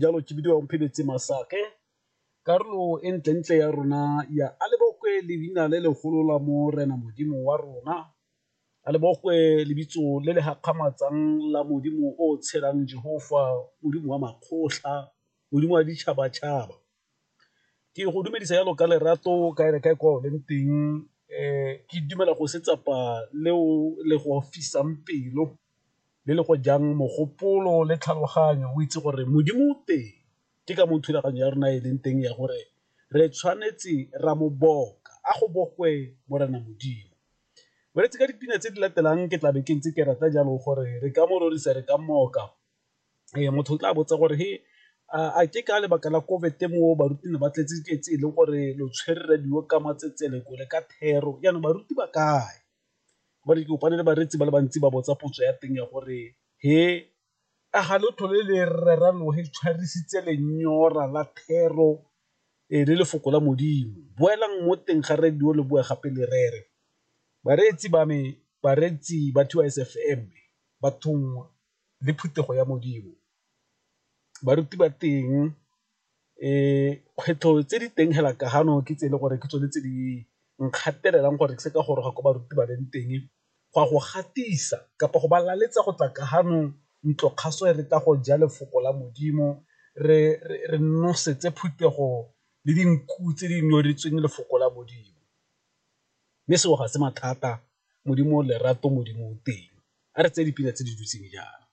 Jalo ke bidiwa Mphebetse Masake, karolo e ntlentle ya rona ya a lebokwe leina le legolo la Morena Modimo wa rona, a lebokwe lebitso le le gakgamatsang la Modimo o tshelang Jehofa, Modimo wa makgotlha, Modimo wa ditšhabatšhaba. Ke go dumedisa jalo ka lerato kae le kae kwa o leng teng, ke dumela go setsapa leo le go fisang pelo le le go jang mogopolo le tlhaloganyo o itse gore Modimo o teng. Ke ka moo thulaganyo ya rona e leng teng ya gore re tshwanetse ra mo boka, a go bokwe Morena Modimo. Boreetsi ka dipina tse di latelang ke tlabe ke ntse ke rata jalo gore re ka mo rorisa re ka moka. Ee, motho o tla botsa gore he a ke ka lebaka la COVID mo baruti ne ba tletse tse e leng gore lo tshwere radio ka matsetseleko le ka thero, jaanong baruti ba kae? Gobane ke kopane le bareetsi ba le bantsi ba botsa potso ya teng ya gore he a ga lo tlhole le rera lo he tshwarisitse lenyora la thero le lefoko la Modimo, boelang mo teng ga radio le boe gape le rere. Bareetsi ba me, bareetsi ba 2 FM, bathong le phuthego ya Modimo, baruti ba teng kgwetlho tse di teng hela ka gano ke tse e leng gore ke tsone tse di nkgatelelang gore ke se ka goroga ko baruti ba leng teng go a go gatisa kapa go ba laletsa go tla ka gano ntlo kgaso e re tla go ja lefoko la Modimo re nosetse phuthego le dinku tse di nyoretsweng lefoko la Modimo. Mme seo ga se mathata, Modimo o lerato, Modimo o teng. A re tseye dipina tse di dutseng jaana.